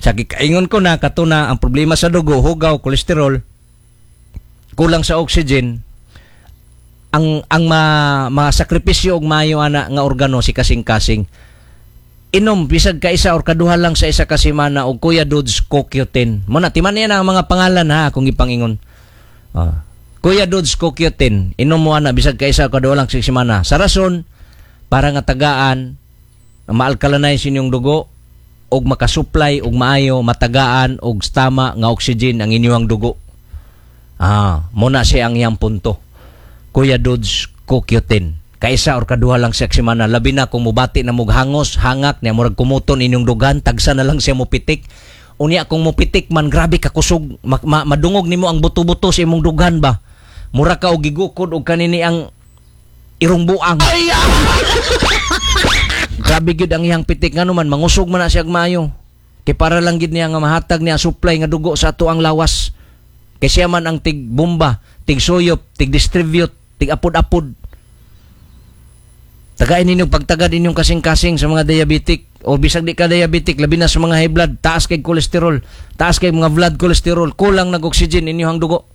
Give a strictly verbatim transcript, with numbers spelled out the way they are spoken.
Sa gikaingon ko na katuna ang problema sa dugo, hugaw, kolesterol, kulang sa oxygen, ang ang ma, masakripisyo og maayo ana nga organo si kasing-kasing. Inom bisag kaisa or kaduha lang sa isa ka semana og Kuya Dudes C O Q ten. Mo na timan niya na ang mga pangalan ha kung ipangingon. Ah. Kuya Dudes C O Q ten, inom mo ana bisag kaisa o kaduha lang sa semana. Sa rason para nga tagaan ma-alkalinize inyong dugo og makasupply og maayo, matagaan og tama nga oxygen ang inyong dugo. Ah, mo na siya ang iyang punto. Kuya Dudes C O Q ten. Kaisa or kaduha lang siya semana. Labi na kung mubati na mug hangos, hangak niya, murag kumuton inyong dugan, tagsa na lang siya mupitik. Unya kung mupitik man, grabe ka kusog, ma- ma- madungog nimo ang buto-buto sa imong dughan ba. Mura ka og gigukod og kanini ang irong buang. Grabe gyud ang iyang pitik, ngano man mangusog man na siya og maayo. Kay para lang gid niya nga mahatag niya supply nga dugo sa ato ang lawas. Kay siya man ang tig bomba, tig suyop, tig distribute, tig apod-apod. Tagain ninyo pagtagad inyong kasing-kasing sa mga diabetic o bisag di ka diabetic, labi na sa mga high blood, taas kay kolesterol, taas kay mga blood cholesterol, kulang nag oxygen inyong dugo.